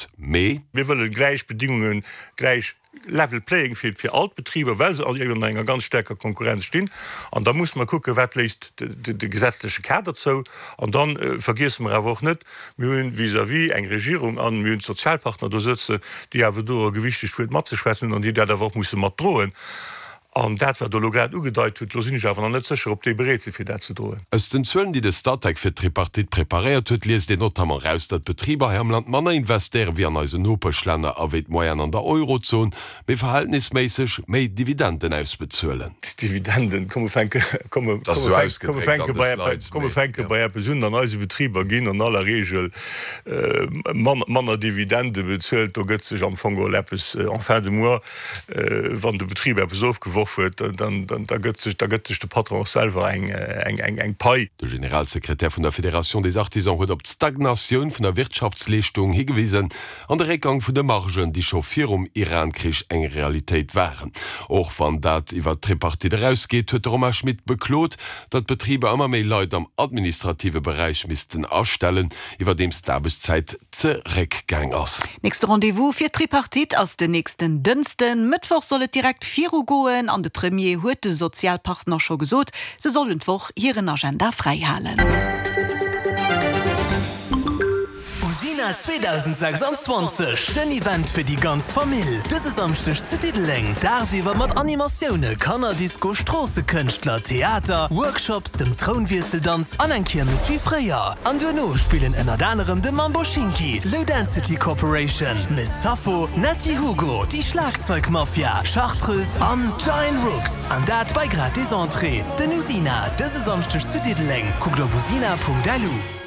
gutt, mee. Mir wëlle gläich Bedingungen, gläich level playing field fir all d'Betriber, well se an enger ganz staarker Konkurrenz stinn. An da musse mer kucken, wat léisst de gesetzleche Kader zou. An da vergiesse mer awer och net, mir hunn vis-à-vis eng Regierung an mir hunn d'Sozialpartner do sëtzen, déi awer do e gewichtegt Wuert matzeschwätzen hunn an déi dat awer och musse matdroen. An dat, wat Der elo grad ugedeit hutt, do sinn ech awer nach net sécher, ob déi bereet sinn, fir dat ze droen. Aus den Zuelen, déi de Statec fir d'Tripartite preparéiert huet, liest een notamment eraus, datt d'Betriber hei am Land manner investéiere wéi an eisen Nopeschlänner a wéi d'Moyenne an der Eurozon, mee verhältnisméisseg méi Dividenden ausbezuelen. D'Dividenden, komm mer fänke, komm mer fänke bei eppes, komm mer fänke bei eppes un, an eise Betriber ginn an aller Regel manner Dividende bezuelt. Do gëtt sech am Fong geholl eppes en fin de mois Wann de Betrib eppes ofgeworf huet, da gëtt sech da gëtt sech de Patron och selwer eng Pai. De Generalsekretär vun der Fédération des Artisans huet op d'Stagnatioun vun der Wirtschaftsleeschtung higewisen an de Réckgang vun de Margen, déi scho virum Iran-Krich eng Realitéit waren. Och wann dat iwwer d'Tripartite erausgeet, huet de Romain Schmit beklot, datt d'Betriber ëmmer méi Leit am administrative Beräich missten astellen, iwwerdeems d'Aarbechtszäit zeréckgaang ass. Nächste Rendez-vous fir d'Tripartite ass den nächsten Dënsten. Mëttwoch soll et direkt viru goen an de Premier huet de Sozialpartner scho gesot, se sollen d'Woch hiren Agenda fräi halen. Usina 2026, den Event fir déi ganz Famill! Dëse Samschdeg zu Diddeleng, dagsiwwer mat Animatioune, Kannerdisco, Stroossekënschtler, Theater, Workshops, dem Trounwiesseldanz an eng Kiermes wéi fréier. An duerno spillen ënnert anerem de Mambo Schinki, Low Density Corporation, Miss Sappho, Netty Hugo, déi Schlagzeugmafia, Chartreuse an Giant Rooks. An dat bei gratis Entrée. Den Usina, dëse Samschdeg zu Diddeleng. Kuckt op usina.lu.